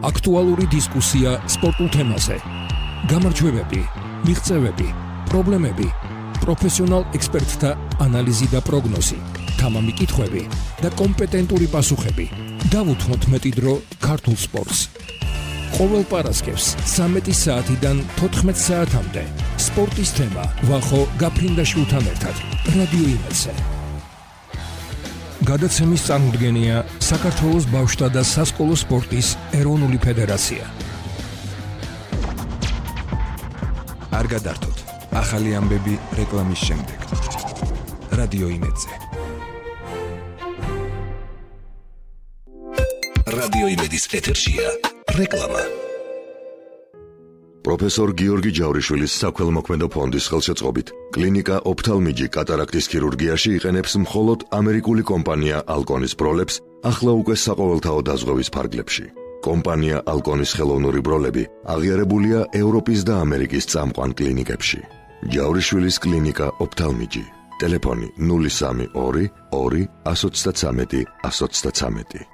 აქტუალური დისკუსია სპორტულ თემაზე. გამარჯვებები, მიღწევები, პრობლემები, პროფესიონალ ექსპერტთა ანალიზი და პროგნოზი, თამამი კითხვები და კომპეტენტური პასუხები. დავუთმოთ მეტი დრო ქართულ სპორტს. ყოველ პარასკევს 13 საათიდან 14 საათამდე სპორტის თემა ვახო გაფრინდაშვილთან ერთად რადიო იმედზე. გადაცემის წარმოდგენია საქართველოს ბავშვთა და სასკოლო სპორტის ეროვნული ფედერაცია. არ გადართოთ, ახალი ამბები რეკლამის შემდეგ. რადიო იმედზე. რადიო იმედის ეთერშია რეკლამა. პროფესორ გიორგი ჯავრიშვილის საქველმოქმედო ფონდის ხელშეწყობით კლინიკა ოფთალმიჯი კატარაქტის ქირურგიაში იყენებს მხოლოდ ამერიკული კომპანია ალკონის ბროლებს ახლა უკვე საყოველთაო დაზღვევის ფარგლებში. კომპანია ალკონის ხელოვნური ბროლები აღიარებულია ევროპის და ამერიკის წამყვან კლინიკებში. ჯავრიშვილის კლინიკა ოფთალმიჯი. ტელეფონი 032 2 133 133.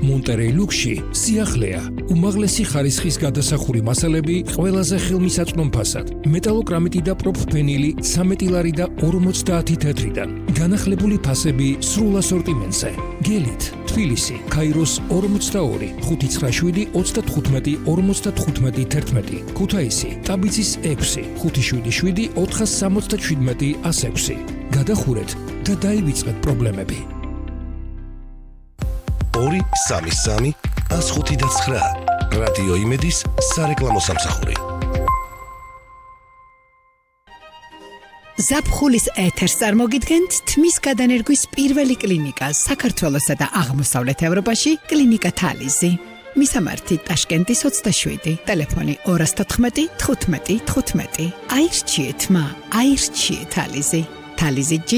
მონტერეი ლუქსში სიახლეა, უმაღლესი ხარისხის გადასახური მასალები ყველაზე ხელმისაწვდომ ფასად, მეტალოკრამიტი და პროფფენილი 13 ლარი და 50 თეთრიდან, განახლებული ფასები სრულ ასორტიმენტზე. გელით, თბილისი, ქაიროს 42, 597 35 55 11, ქუთაისი, ტაბიცის 6, 577 477 106. გადახურეთ და დაივიწყეთ პრობლემები. 233 105 რადიო იმედის სარეკლამო სამსახური. ზაფხულის ეთერს წარმოგიდგენთ თმის გადანერგვის პირველი კლინიკა საქართველოსა და აღმოსავლეთ ევროპაში კლინიკა თალიზი. მისამართი ტაშკენტის 27, ტელეფონი 214 15 15. აირჩიეთ თალიზი. თალიზი G.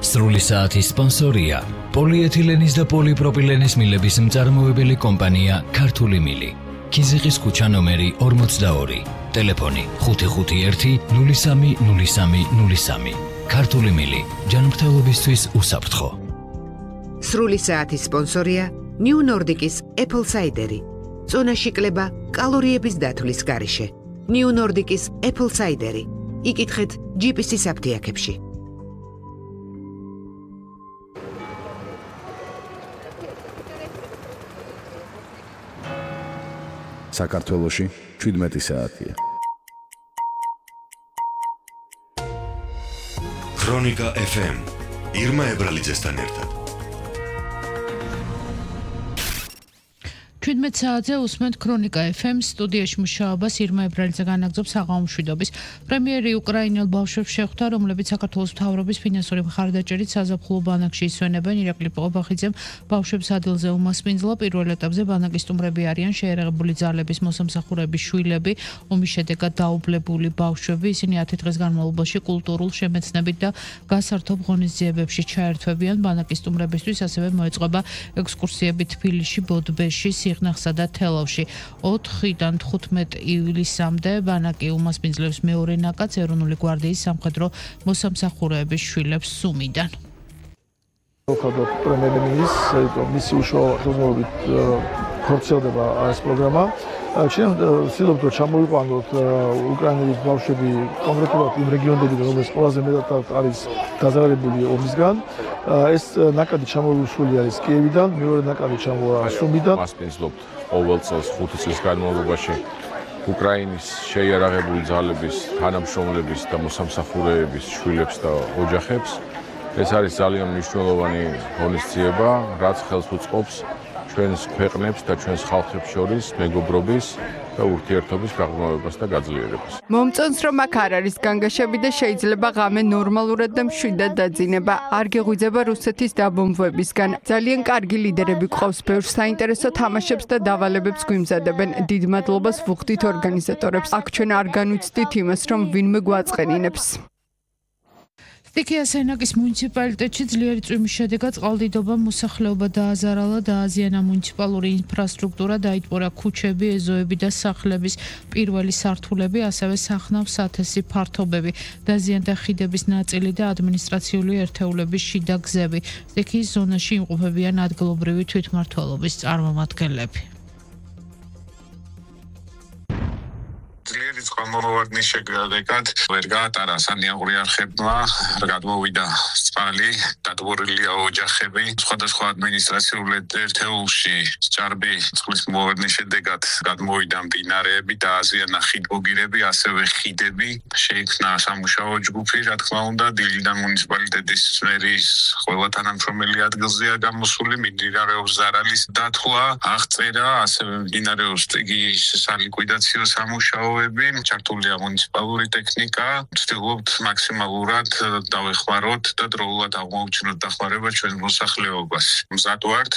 სრული საათის სპონსორია პოლიეთილენის და პოლიპროპილენის მილების მწარმოებელი კომპანია ქართული მილი. ქიზიყის ქუჩა ნომერი 42, ტელეფონი 551 03 03 03. ქართული მილი, ჯანმრთელობისთვის უსაფრთხო. სრული საათის სპონსორია New Nordic-ის Apple Cider-ი. წონაში კლება კალორიების დათვლის გარეშე. New Nordic-ის Apple Cider-ი. იკითხეთ GPS-ის აფთიაქებში. საქართველოში 17 საათია. ქრონიკა FM ირმა ებრალიძესთან ერთად. 17 საათზე უსმენთ ქრონიკა FM სტუდიაში მუშაობას ირმა ებრალიძე განაგრძობს საღამო მშვიდობის. პრემიერი უკრაინელ ბავშვებს შეხვდა, რომლებიც საქართველოს მთავრობის ფინანსური მხარდაჭერით საზაფხულო ბანაკში ისვენებენ. ირაკლი პოღობახიძემ ბავშვებს ადგილზე უმასპინძლა. პირველ ეტაპზე ბანაკის სტუმრები არიან შეერაღებული ძალების მოსამსახურების შვილები, ომის შედეგად დაублებული ბავშვები. ისინი 10 დღის განმავლობაში კულტურულ შემეცნებით და გასართობ ღონისძიებებში ჩაერთვებიან. ბანაკის სტუმრებისთვის ასევე მოეწყობა ექსკურსიები თბილისში, ბოდბეში, სიღნაღსა და თელავში. 4-დან 15 ივლისამდე ბანაკი უმასპინძლებს მეორე ნაკადს ეროვნული გვარდიის სამხედრო მოსამსახურეების შვილებს სუმიდან. პრემიერ-მინისტრის მისი უშუალო ხელმძღვანელობით ხორციელდება ეს პროგრამა. ვცდილობთ რომ ჩამოვიყვანოთ უკრაინელი ბავშვები კონკრეტულად იმ რეგიონებიდან, რომელიც ყველაზე მეტად არის დაზარალებული ომისგან. ეს ნაკადი ჩამოვისული არის კიევიდან, მეორე ნაკადი ჩამოვა სუმიდან. მასპინძლობთ ყოველ წელს 5 წლის განმავლობაში უკრაინის შეიარაღებული ძალების თანამშრომლების და მოსამსახურეების შვილებს და ოჯახებს. ეს არის ძალიან მნიშვნელოვანი ღონისძიება, რაც ხელს უწყობს ჩვენს ქვეყნებს და ჩვენს ხალხებს შორის მეგობრობის და ურთიერთობის გაღრმავებას და გაძლიერებას. მომწონს რომ აქ არ არის განგაშები და შეიძლება ღამე ნორმალურად და მშვიდად დაძინება. არ გეღვიძება რუსეთის დაბომბვებისგან. ძალიან კარგი ლიდერები გვყავს, ბევრ საინტერესო თამაშებს და დავალებებს გვიმზადებენ. დიდ მადლობას ვუხდით ორგანიზატორებს. აქ ჩვენ არ განვიცდით იმას, რომ ვინმე გვაწყენინებს. სტიქიას ენაკის მუნიციპალიტეტში ძლიერი წვიმის შედეგად წყალდიდობამ მოსახლეობა დააზარალა, დააზიანა მუნიციპალური ინფრასტრუქტურა, დაიტბორა ქუჩები, ეზოები და სახლების პირველი სართულები, ასევე სახნავ სათესი ფართობები, დაზიანდა ხიდების ნაწილი და ადმინისტრაციული ერთეულების შიდა გზები. სტიქიის ზონაში იმყოფებიან ადგილობრივი თვითმმართველობის წარმომადგენლები. ძლიერი წყალმოვარდნის შედეგად ვერ გაატარა სანიტარული არხებმა, გადმოვიდა წყალი, დადბორილია ოჯახები, სხვადასხვა ადმინისტრაციულ ერთეულში ჭარბი წყლის მოვარდნის შედეგად გადმოვიდა მდინარეები, დააზიანა ხიდბოგირები, ასევე ხიდები, შეიქმნა სამუშაო ჯგუფი, რა თქმა უნდა, დილიდან მუნიციპალიტეტის მერის ყველა თანამშრომელი ადგილზეა გამოსული, მიმდინარეობს ზარალის დათვლა, აღწერა, ასევე მიმდინარეობს სტიქიის სალიკვიდაციო სამუშაოები, ჩართულია მუნიციპალური ტექნიკა, ვცდილობთ მაქსიმალურად დავეხმაროთ და დროულად აღმოუჩინოთ დახმარება ჩვენ მოსახლეობას. მზად ვართ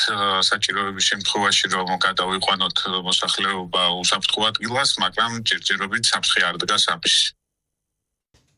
საჭიროების შემთხვევაში რომ გადავიყვანოთ მოსახლეობა უსაფრთხო ადგილას, მაგრამ ჯერჯერობით საფრთხე არ დგას ამის.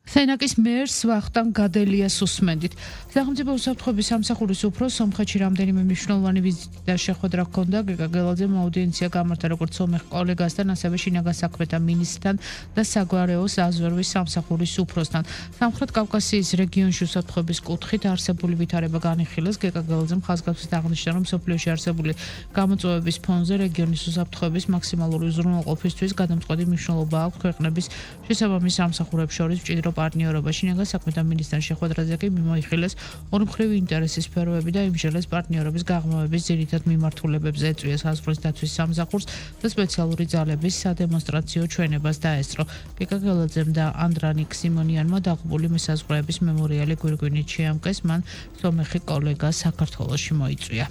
სენაკის მერს ვახტანგ გადელიას უსმენდით. სახელმწიფო უსაფრთხოების სამსახურის უფროს სომხეთში რამდენიმე მნიშვნელოვანი ვიზიტი და შეხვედრა ჰქონდა. გეგა გელაძემ აუდიენცია გამართა როგორც სომეხ კოლეგასთან, ასევე შინაგან საქმეთა მინისტრთან და საგვარეოს აზვერვის სამსახურის უფროსთან. სამხრეთ კავკასიის რეგიონში უსაფრთხოების კუთხით არსებული ვითარება განიხილეს. გეგა გელაძემ ხაზგასმით აღნიშნა, რომ სოფლიოში არსებული გამოწვევების ფონზე რეგიონის უსაფრთხოების მაქსიმალური უზრუნველყოფისთვის გადამწყვეტი მნიშვნელობა აქვს ქვეყნების შესაბამის სამსახურებს შორის მჭიდრო პარტნიორობა. შინაგან საქმეთა ministrთან შეხვედრაზე კი მიმოიხილეს ორმხრივი ინტერესის სფეროები და იმჟელეს პარტნიორობის გაღრმავების ძირითად მიმართულებებზე, ეწვია საზღვრის დაცვის სამსახურს და სპეციალური ძალების სადემონსტრაციო ჩვენებას დაესწრო. გეგა გელაძემ და ანდრანიკ სიმონიანმა დაღუპული მესაზღვრეების მემორიალი გვირგვინით შეამკეს, მან სომეხი კოლეგა საქართველოში მოიწვია.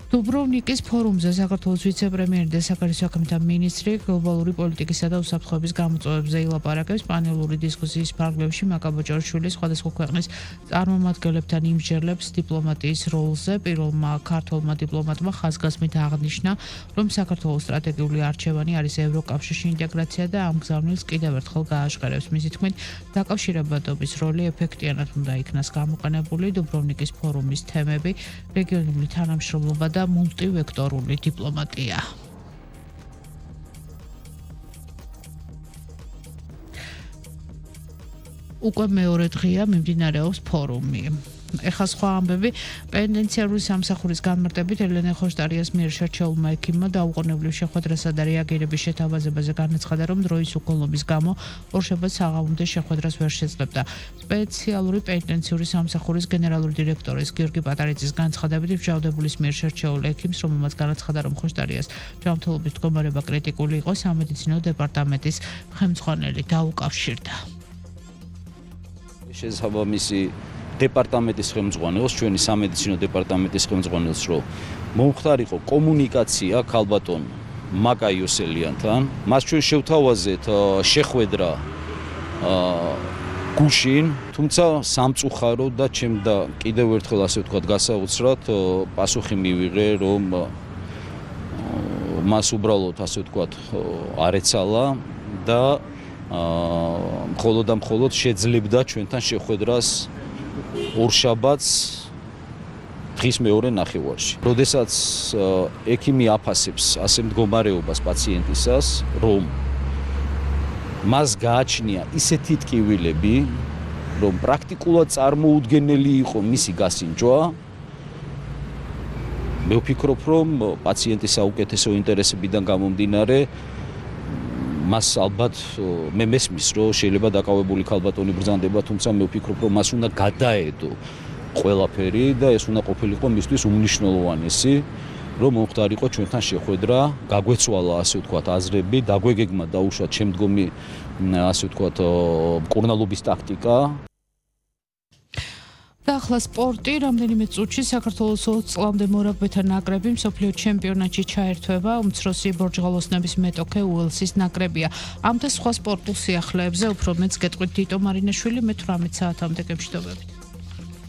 დუბროვნიკის ფორუმზე საქართველოს ვიცე-პრემიერი და საგარეო საქმეთა მინისტრი გლობალური პოლიტიკისა და უსაფრთხოების გამოწვევებზე ილაპარაკებს. პანელური დისკუსიის ფარგლებში მაკაბოჭორშვილი სხვადასხვა ქვეყნის წარმომადგენლებთან იმჟელებს დიპლომატიის როლზე. პირველმა ქართველმა დიპლომატმა ხაზგასმით აღნიშნა, რომ საქართველოს სტრატეგიული არჩევანი არის ევროკავშირში ინტეგრაცია და ამ გზავნილს კიდევ ერთხელ გააჟღერებს. მისი თქმით, დაკავშირებადობის როლი ეფექტიანად უნდა იქნას გამოყენებული. დუბროვნიკის ფორუმის თემები რეგიონული თანამშრომლობა და მულტივექტორული დიპლომატია. უკვე მეორე დღეა მიმდინარეობს ფორუმი. ეხლა სხვა ამბები. პენიტენციარული სამსახურის განმარტებით ელენე ხოშტარიას მიერ შერჩეულმა ექიმმა დაუყოვნებლივ შეხვედრასა და რეაგირების შეთავაზებაზე განაცხადა, რომ დროის უქონლობის გამო ორშაბათს საღამომდე შეხვედრას ვერ შეძლებდა. სპეციალური პენიტენციური სამსახურის გენერალური დირექტორის გიორგი პატარიძის განცხადებით, მსჯავრდებულის მიერ შერჩეულ ექიმს, რომელმაც განაცხადა, რომ ხოშტარიას ჯანმრთელობის მდგომარეობა კრიტიკული იყო, სამედიცინო დეპარტამენტის ხელმძღვანელი დაუკავშირდა. შესაბამისი დეპარტამენტის ხელმძღვანელს, ჩვენი სამედიცინო დეპარტამენტის ხელმძღვანელს, რომ მომხდარიყო კომუნიკაცია ქალბატონ მაკა იოსელიანთან. მას ჩვენ შევთავაზეთ შეხვედრა გუშინ, თუმცა სამწუხარო და ჩემდა კიდევ ერთხელ ასე ვთქვათ გასაოცრად პასუხი მივიღე, რომ მას უბრალოდ ასე ვთქვათ არ ეცალა და მხოლოდ და მხოლოდ შეძლებდა ჩვენთან შეხვედრას ორშაბათს დღის მეორე ნახევარში. როდესაც ექიმი აფასებს ასე მდგომარეობას პაციენტისას, რომ მას გააჩნია ისეთი ტკივილები, რომ პრაქტიკულად წარმოუდგენელი იყო მისი გასინჯვა, მე ვფიქრობ, რომ პაციენტის საუკეთესო ინტერესებიდან გამომდინარე მას ალბათ მე მესმის, რომ შეიძლება დაკავებული ქალბატონი ბრძანდება, თუმცა მე ვფიქრობ, რომ მას უნდა გადაედო ყველაფერი და ეს უნდა ყოფილიყო მისთვის უმნიშვნელოვანესი, რომ მომხდარიყო ჩვენთან შეხვედრა, გაგვეცვალა ასე ვთქვათ აზრები, დაგვეგეგმა დაუშვათ შემდგომი ასე ვთქვათ მკურნალობის ტაქტიკა. და ახლა სპორტი, რამდენიმე წუთში საქართველოს 20 წლამდე მორაგბეთა ნაკრები მსოფლიო ჩემპიონატში ჩაერთვება. უმცროსი ბორჯღალოსნების მეტოქე უელსის ნაკრებია. ამ და სხვა სპორტულ სიახლეებზე უფრო მეც გეტყვით დიტო მარინაშვილი, მე 18 საათამდე გემშვიდობებით.